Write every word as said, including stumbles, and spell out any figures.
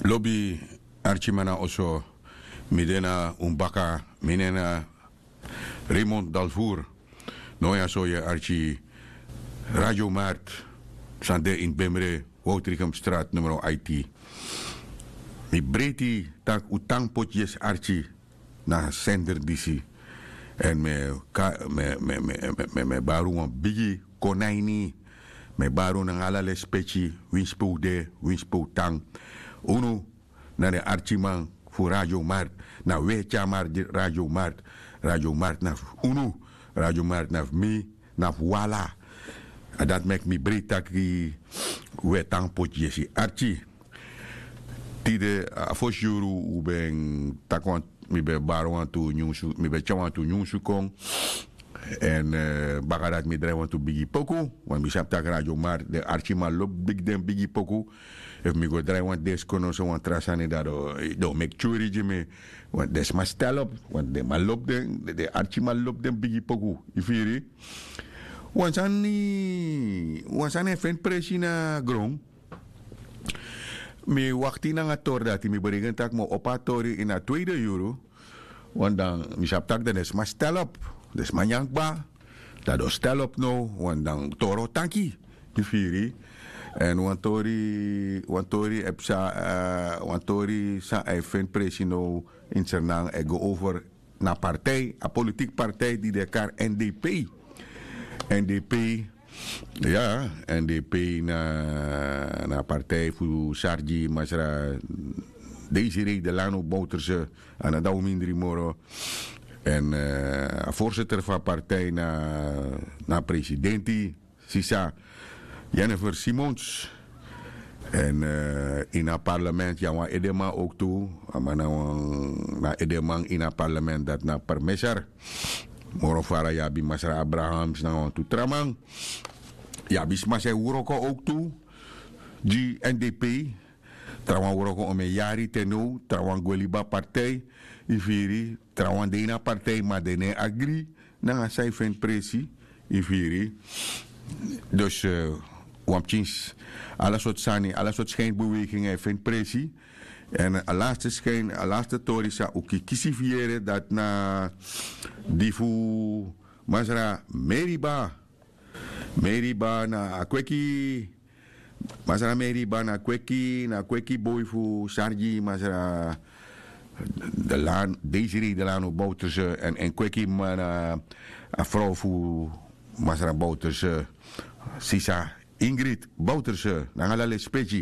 Lobi arkiman na oso. Mi de na un baka, mi nen na Raymond Dalvour. No ya so yu e arki Radio Mart san de ini Bemre, Woutrichem Straat numero aiti. Mi breiti tak' un tan poti yesi arki na sender disi. Èn mi e ka- mi e- mi e- mi e- mi e- mi e- mi e bari un wan bigi kon na ini. Mi e bari un nanga ala lespeki, winsi pe un de, winsi pe un tan. Unu na den arkiman fu Radio Mart. Na un e tyari mart, Radio Mart. Radio Mart na fu unu. Radio Mart na fu mi, na fu un ala. A dati meki mi breiti tak' un e tan poti yesi arki. Tide a fosi yuru un ben taki wan, mi ben bari wantu nyunsu, mi ben tyari wantu nyunsu kon. Èn baka dati mi drai wantu bigi poku. Wan mi sabi tak' Radio Mart den arkiman lobi bigi den bigi poku. Efu mi go drai wan desko noso wan tra sani dati den o meki tyuri gi mi. Want den sma stel op, want den man lobi den den arkiman lobi den bigi poku. Yu firi? Wan sani wan sani e feni presi na gron. Mi wakti nanga tori dati mi bereken tak' mi o opo a tori ini a tweede yuru. Want dan mi sabi tak' dan den sma stel op, den sma nyan kba. Dan den o stel op now, want dan tori o tanki. Yu firi? Èn wan tori wan tori e psa. Wan tori san a e feni presi now ini sernan e go over na partij, a politiki partij di den e kari n d p. N d p, ya, n d p na a partij fu sargi masra deisi rei de lano bouterse. A na dan un mindri moro. Èn a voorzitter fu a partij na a presidenti sisa jennifer simons. Èn ini a parlement yu abi wan edeman owk tu. A man na wan edeman ini a parlement dati na permeser. Moro fara yu abi masra abrahams nanga wantu tra man. Yu abi sma san e wroko owk tu gi n d p. Trawan wroko omen yari te now trawan gwe libi a partij. Yu firi? Trawan de ini a partij ma den no e agri nanga san yu feni presi. Yu firi? Dus wan pikin ala sortu sani ala sortu skinbeweging e feni presi. Èn a laste skin a laste tori san un kisi fu yere dati na di fu masra meriba. Meriba na a kweki. Masra meriba na kweki na kweki boi fu sargi masra de lan deisi rei de lano bouterse. Èn en kweki man na a frow fu masra bouterse, sisa ingrid bouterse nanga ala lespeki.